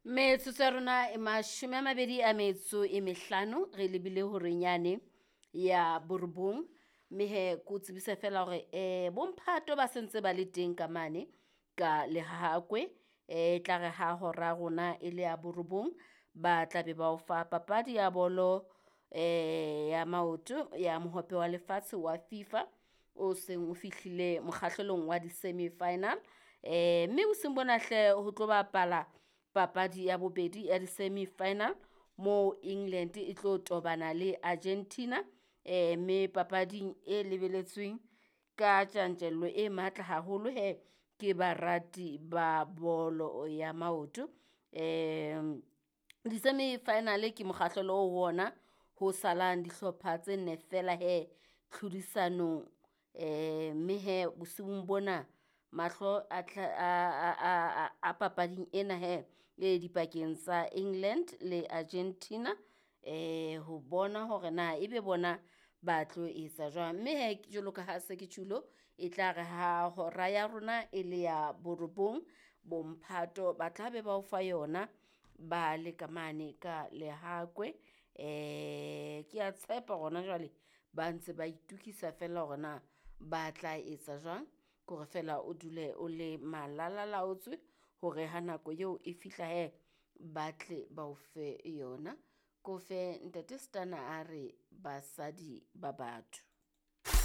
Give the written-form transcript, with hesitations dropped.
Metsotso ya rona e 25 re lebile horeng yane ya borobong. Mme he ke o tsebise fela hore bomphato ba sentse ba le teng ka mane ka Lehakwe. E tla re ha hora rona e le ya borobong, ba tla be ba o fa papadi ya bolo ya maoto ya mohope wa lefatshe wa FIFA o seng o fihlile mokgahlelong wa di-semi final. Mme bosiung bona hle ho tlo bapala papadi ya bobedi ya di-semi final mo England e tlo tobana le Argentina. Mme papading e lebeletsweng ka tjantjello e matla haholo he ke barati ba bolo ya maoto. Di-semi final ke mokgahlelo o ho ona ho salang dihlopha tse nne fela he tlhodisanong. Mme he bosiung bona mahlo a tla a papading ena he e dipakeng tsa England le Argentina ho bona hore na ebe bona ba tlo etsa jwang. Mme he jwalo ka ha se ke tjhulo, e tla re ha hora ya rona e le ya borobong, bomphato ba tla be ba o fa yona ba le ka mane ka Lehakwe. Ke a tshepa hona jwale ba ntse ba itukisa fela hore na ba tla etsa jwang. Ke hore fela o dule o le malalalaotswe hore ha nako eo e fihla he, ba tle ba o fe yona. Ko fe ntate Stunna a re basadi ba batho.